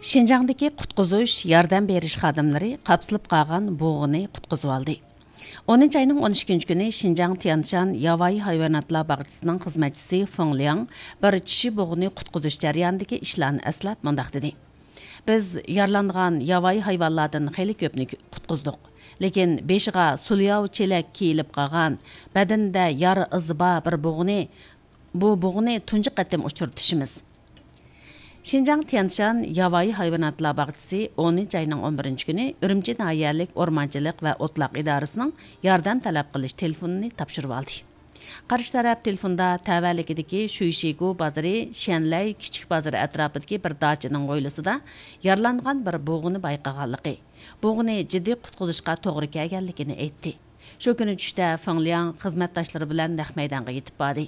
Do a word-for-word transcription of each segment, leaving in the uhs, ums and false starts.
شىنجاڭدىكى قۇتقۇزۇش، ياردەم بېرىش خادىملىرى قاپسىلىپ قالغان بۇغىنى قۇتقۇزۇۋالدى. ئونىنچى ئاينىڭ ئون ئىككىنچى كۈنى شىنجاڭ تيەنشان ياۋايى ھايۋاناتلار باغچىسىنىڭ خىزمەتچىسى فېڭ لياڭ بىر چىشى بۇغىنى قۇتقۇزۇش جەريانىدىكى ئىشلارنى ئەسلەپ مۇنداق دېدى: بىز يارىلانغان ياۋايى ھايۋانلاردىن خېلى كۆپنى قۇتقۇزدۇق، لېكىن بېشىغا سۇلياۋ چېلەك كىيىلىپ قالغان، بەدىنىدە يارا ئىزى بار بىر بۇغىنى، بۇ بۇغىنى تۇنجى قېتىم ئۇچرىتىشىمىز. شىنجاڭ تيەنشان ياۋايى ھايۋاناتلار باغچىسى ئونىنچى ئاينىڭ ئون بىرىنچى كۈنى ئۈرۈمچى ناھىيەلىك ئورمانچىلىق ۋە ئوتلاق ئىدارىسىنىڭ ياردەم تەلەپ قىلىش تېلېفونىنى تاپشۇرۇۋالدى. قارشى تەرەپ تېلېفوندا تەۋەلىكىدىكى شۈيشىگۇ بازىرى، شيەنلەي كىچىك بازىرى ئەتراپىدىكى بىر داچىنىڭ ھويلىسىدا يارىلانغان بىر بۇغىنى بايقىغانلىقى، بۇغىنى جىددىي قۇتقۇزۇشقا توغرا كەلگەنلىكىنى ئېيتتى. شۇ كۈنى چۈشتە فېڭ لياڭ خىزمەتداشلىرى بىلەن نەق مەيدانغا يېتىپ باردى.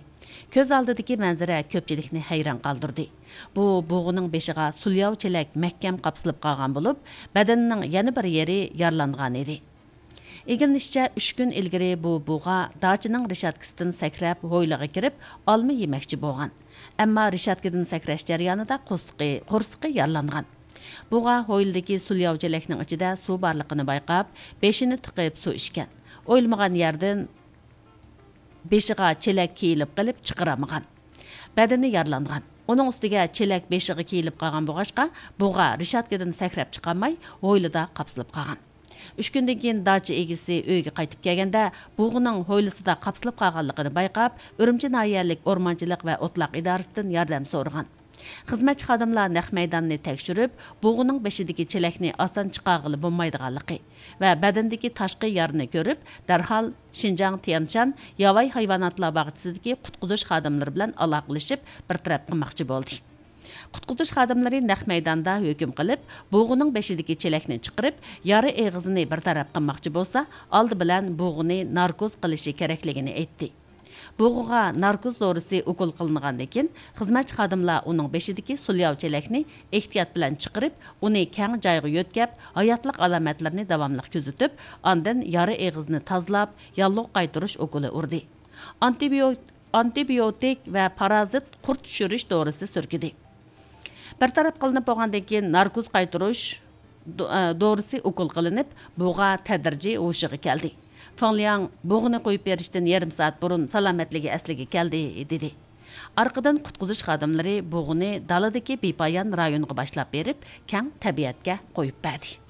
كۆز ئالدىدىكى مەنزىرە كۆپچىلىكنى ھەيران قالدۇردى. بۇ بۇغىنىڭ بېشىغا سۇلياۋ چېلەك مەھكەم قاپسىلىپ قالغان بولۇپ، بەدىنىنىڭ يەنە بىر يېرى يارىلانغان ئىدى. ئىگىلىنىشىچە، ئۈچ كۈن ئىلگىرى بۇ بۇغا داچىنىڭ رېشاتكىسىدىن سەكرەپ، ھويلىغا كىرىپ، ئالما يېمەكچى بولغان. ئەمما رېشاتكىدىن سەكرەش جەريانىدا قورسىقى، قورسىقى يارىلانغان. بۇغا ھويلىدىكى سۇلياۋ چېلەكنىڭ ئىچىدە سۇ بارلىقىنى بايقاپ، بېشىنى تىقىپ سۇ ئىچكەن. ئويلىمىغان يەردىن بېشىغا چېلەك كىيىلىپ قېلىپ چىقىرالمىغان. بەدىنى يارىلانغان. ئۇنىڭ ئۈستىگە چېلەك بېشىغا كىيىلىپ قالغان بولغاچقا، بۇغا رېشاتكىدىن سەكرەپ چىقالماي، ھويلىدا قاپسىلىپ قالغان. ئۈچ كۈندىن كېيىن داچا ئىگىسى ئۆيگە قايتىپ كەلگەندە، بۇغىنىڭ ھويلىسىدا قاپسىلىپ قالغانلىقىنى بايقاپ، ئۈرۈمچى ناھىيەلىك ئورمانچىلىق ۋە ئوتلاق ئىدارىسىدىن ياردەم سورىغان. خىزمەتچى خادىملار نەق مەيداننى تەكشۈرۈپ، بۇغىنىڭ بېشىدىكى چېلەكنى ئاسان چىقارغىلى بولمايدىغانلىقى ۋە بەدىنىدىكى تاشقى يارىنى كۆرۈپ، دەرھال شىنجاڭ تيەنشان ياۋايى ھايۋاناتلار باغچىسىدىكى قۇتقۇزۇش خادىملىرى بىلەن ئالاقىلىشىپ، بىر تەرەپ قىلماقچى بولدى. قۇتقۇزۇش خادىملىرى نەق مەيداندا ھۆكۈم قىلىپ، بۇغىنىڭ بېشىدىكى چېلەكنى چىقىرىپ، يارا ئېغىزىنى بىر تەرەپ قىلماقچى بولسا، ئالدى بىلەن بۇغىنى ناركوز قىلىشى كېرەكلىكىنى ئېيتتى. بۇغىغا ناركوز دورىسى ئوكۇل قىلىنغاندىن كېيىن، خىزمەتچى خادىملار ئۇنىڭ بېشىدىكى سۇلياۋ چېلەكنى ئېھتىيات بىلەن چىقىرىپ، ئۇنى كەڭ جايغا يۆتكەپ، ھاياتلىق ئالامەتلىرىنى داۋاملىق كۆزىتىپ، ئاندىن يارا ئېغىزىنى تازىلاپ، ياللۇغ قايتۇرۇش ئوكۇلى ئۇردى. ئانتىبىيو-، ئانتىبىيوتىك ۋە پارازىت قۇرت چۈشۈرۈش دورىسى سۈركىدى. بىر تەرەپ قىلىنىپ بولغاندىن كېيىن، ناركوز قايتۇرۇش دو-، ئە، دورىسى ئوكۇل قىلىنىپ، بۇغا تەدرىجىي ھوشىغا كەلدى. فېڭ لياڭ بۇغىنى قويۇپ بېرىشتىن يېرىم سائەت بۇرۇن سالامەتلىكى ئەسلىگە كەلدى، دېدى. ئارقىدىن قۇتقۇزۇش خادىملىرى بۇغىنى دالىدىكى بىپايان رايونغا باشلاپ بېرىپ، كەڭ تەبىئەتكە قويۇپ بەردى.